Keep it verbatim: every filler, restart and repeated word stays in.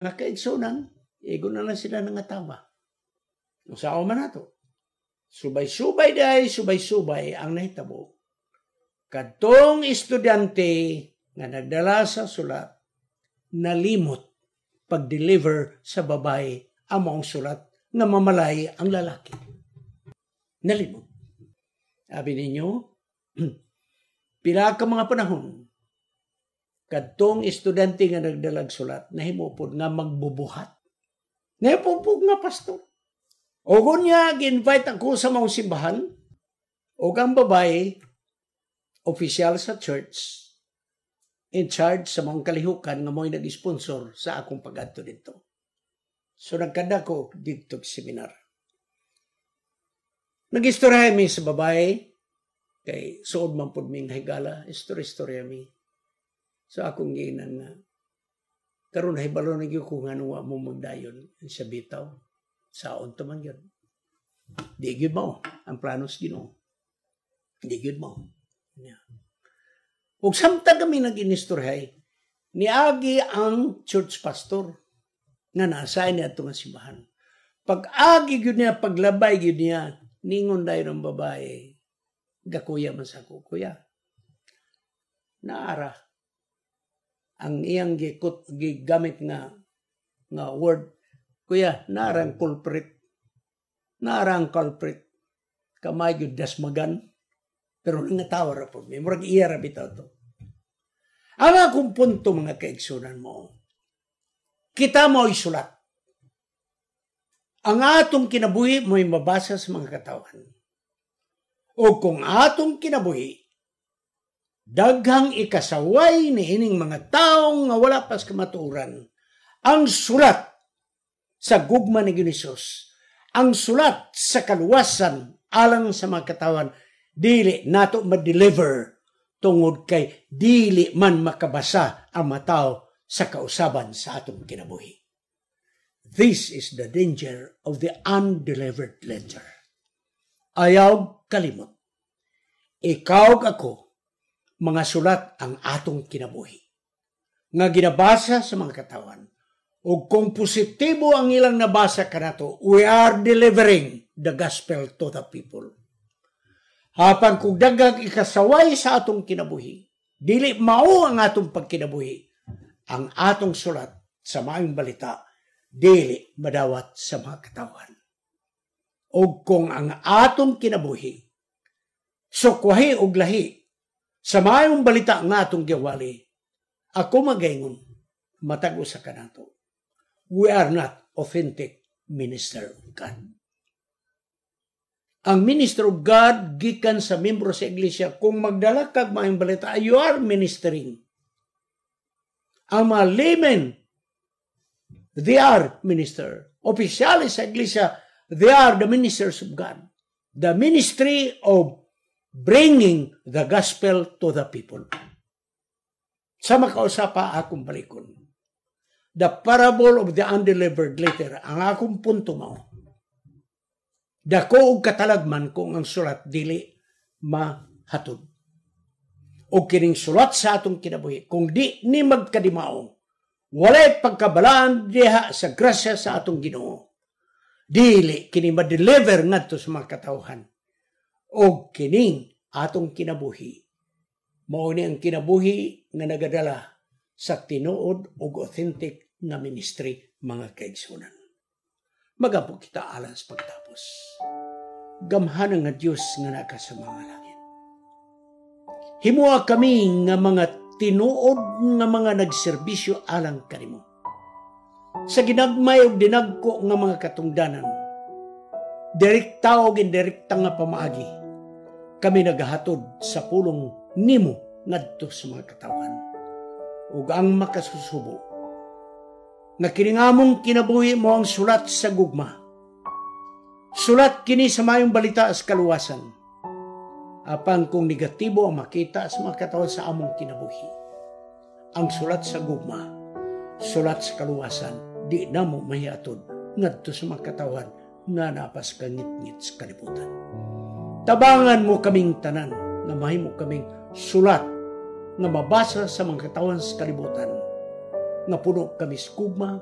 Mga kaigsunan, igo na lang sila nangatawa. Unsaon man nato? Subay-subay day, subay-subay ang nahitabo. Kadtong estudyante nga nagdala sa sulat, nalimot pag-deliver sa babae ang maong sulat nga mamalay ang lalaki. Nalimot. Sabi ninyo, pila ka mga panahon, kadtong estudyante nga nagdalag sulat, nahimo pod nga magbubuhat. Nahimo pod nga pastor. O niya, gi-invite ako sa mga simbahan, o ang babae, opisyal sa church, in charge sa mga kalihukan nga mo'y nag-sponsor sa akong pag-adto dito. So nagkada ko dito seminar. Nag-istorya mi sa babae, kay suod man pud ming higala, istorya-istorya mi. So akong giinan nga, karon nahibalo na gyud ko nga wa mo magdayon sa bitaw. Saon to man yun. Di gyud mao ang plano sa Ginoo. Di gyud mao. Yeah. Ug samtang kami nag-inistorhay, niagi ang church pastor nga nasa niya ato nga simbahan. Pag agi gyud niya, paglabay gyud niya, ningon dayon ang babae, gakuya man sa ako, kuya. Naara ang iyang gikut gigamit nga nga word, kuya, naara ang culprit. Naara ang culprit. Kamay gyud dasmagan. Pero nangatawa ra po. May murag iya ra bitaw to. Ang akong punto mga kaigsunan mo, kita mo'y sulat. Ang atong kinabuhi mo'y mabasa sa mga katawan. O kung atong kinabuhi, daghang ikasaway ni ining mga taong nga wala pas kamatuoran, ang sulat sa gugma ni Hesus, ang sulat sa kaluwasan alang sa mga katawan, dili nato ma-deliver tungod kay dili man makabasa ang matao sa kausaban sa atong kinabuhi. This is the danger of the undelivered letter. Ayaw kalimot. Ikaw ako, mga sulat ang atong kinabuhi. Nga ginabasa sa mga katawan. O kung positibo ang ilang nabasa kanato, we are delivering the gospel to the people. Apan kung daghang ikasaway sa atong kinabuhi, dili mao ang atong pagkinabuhi, ang atong sulat sa maayong balita, dili madawat sa mga katawan. O kung ang atong kinabuhi, sukwahi og lahi, sa maayong balita nga atong giwali, ako magaingon, matag usa kanato. We are not authentic minister of God. Ang minister of God gikan sa membro sa iglesia kung magdala kag maayong balita you are ministering. Ang mga laymen they are minister. Opisyales sa iglesia they are the ministers of God. The ministry of bringing the gospel to the people. Sa makausapa akong balikon. The parable of the undelivered letter, ang akong punto mao. Dako og katalagman kung ang sulat dili mahatod. O kining sulat sa atong kinabuhi, kung di ni magkadimao, walay pagkabalaan diha sa grasya sa atong Ginoo. Dili kini ma-deliver ngadto sa mga katawhan. O kining atong kinabuhi. Mao ni ang kinabuhi nga nagadala sa tinuod ug authentic nga ministry mga kaigsunan. Magampo kita alang sa pagtapos. Gamhanan nga Dios nga naa ka sa mga langit. Himoa kami nga mga tinuod nga mga nagserbisyo alang kanimo. Sa ginagmay ug dinagko nga mga katungdanan, direkta og indirekta nga pamaagi, kami nagahatod sa pulong nimo ngadto sa mga katawan. Ug ang makasusubo, nga kining among kinabuhi mao ang sulat sa gugma. Sulat kini sa mayong balita sa kaluwasan. Apan kung negatibo ang makita sa mga katawan sa among kinabuhi. Ang sulat sa gugma, sulat sa kaluwasan, di namo mahiatod ngadto sa mga katawan nga napas kangitngit sa kalibutan. Tabangan mo kaming tanan nga mahimo kaming sulat nga mabasa sa mga katawan sa kalibutan nga puno kami sa gugma,